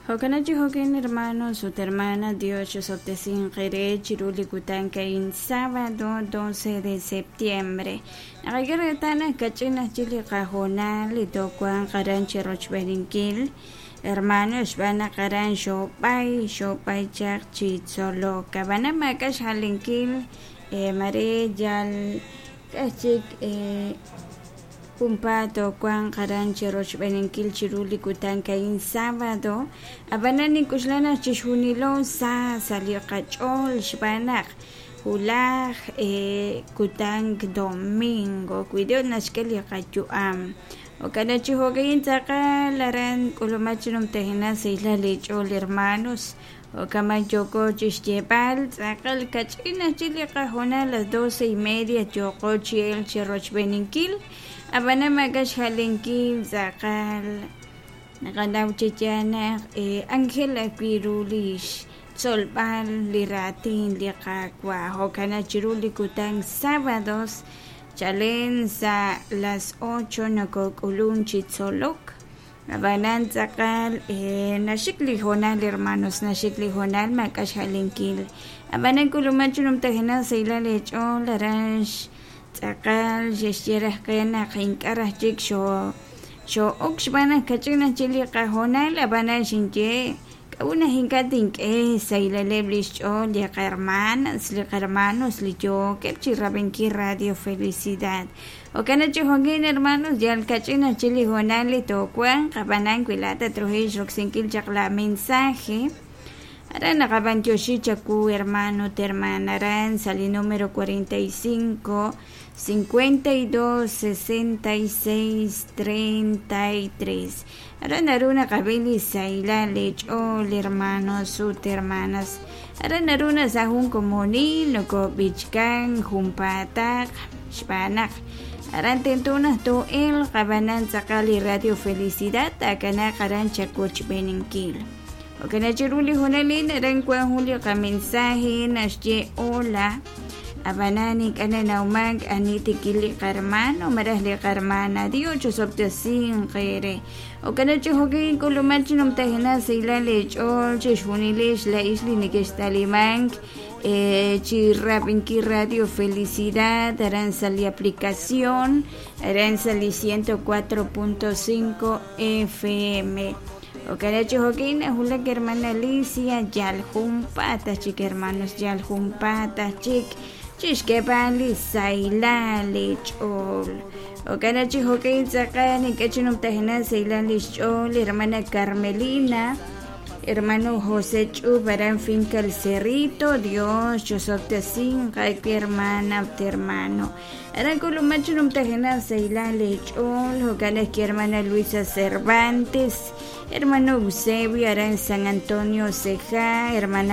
Jo'kan chi jo'kan hermanos ut hermanas, Dios chosob'tesinq eere chiru li kutan a'in sábado 12 de septiembre. Naqak'e reetal naq kach'in aj chik li qahoonal li toowanq aran chirochb'eeninkil, hermanos, xb'aan naq aran xoob'ay, xoob'ay chaq chi tzolok. Ab'anan maak'a' xjalinkil, mare yal k'aj chik Junpaat toowanq aran cherochb'eeninkil chiru li kutan a'in sábado, ab'anan nink'oxla naq chixjunilo sa sa' li qach'ool xb'aan naq wulaj kutan domingo wi Dios naxk'e li qayu'am. Jo'kan naq chi jo'ka'in tz'aqal aran k'ulumak chi numtajenaq sahilal eech'ool hermanos. Jo'kan yooko chi xyeeb'al tz'aqal kach'in aj chik li qahoonal las 12:30 yooqo chi elk chi rochb'eeninkil, ab'anan maak'a' xjalenkil tz'aqal naqanaw chi yaal naq anjel ajwi' ru li xtzolb'al li raatin li Qaawa'. Jo'kan naq chiru li kutan sábados chalen sa' las 8 nokok'ulunk chi tzolok. Ab'anan tz'aqal naxik li hoonal hermanos, naxik li hoonal maak'a' xjalenkil. Ab'anan k'ulumak chi numtajenaq sahilal eech'ool aran tz'aqal xe'xye raj qe naq ink'a' raj chik xoo'ok xb'aan naq kach'in aj chik li qahoonal, ab'anan xinye k'a'ut naq ink'a' tink'e xsahilaleb' li xch'ool li qahermanas, li qahermanos li yookeb' chi rab'inkil Radio Felicidad. Jo'kan naq chi jo'kin hermanos, yal kach'in aj chik li hoonal li toowanq, ab'anan wi laa'at tatruhanq xroksinkil chaq la mensaje, aran naqab'antioxi chawu hermano ut hermana aran sa' li número 45 52 66 33. Aran naru naqab'i li sahilal leech'ool hermanos ut hermanas. Aran naru naq sa' jun komonil nokob'ichkan junpaataq xb'aan naq aran tento naq too'elq ab'anan tz'aqal li Radio Felicidad taakanaaq aran chawochb'eeninkil. Jo'kan naq chiru li hoonalil aran wan jun li qamensaje naxye hola ab'anan ink'a' nanawmank ani tikil li qarmano malaj li qarmana. Dios chosob'tesinq eere. Jo'kan naq chi jo'kan k'ulumak chi numtajenaq sahilal eech'ool chixjunilex laa'ix li nekextalimank chi rab'inkil Radio Felicidad aran sa' li aplicación aran sa' li 104.5 FM. Jo'kan naq chi jo'kan nawulak hermana Alicia yal junpaat aj chik hermanos yal junpaat aj chik chixk'eeb'al li sahilal eech'ool. Jo'kan naq chi jo'kan tz'aqal ink'a' chi numtajenaq sahilal lix ch'ool hermana Carmelina, hermano José Ch'ub aran Finca El Cerrito, Dios chosob'tesinq aawe hermana ut hermano. Aran k'ulumak chi numtajenaq sahilal eech'ool, jo'kan ajwi' hermana Luisa Cervantes, hermano Eusebio aran San Antonio Ceja, hermana.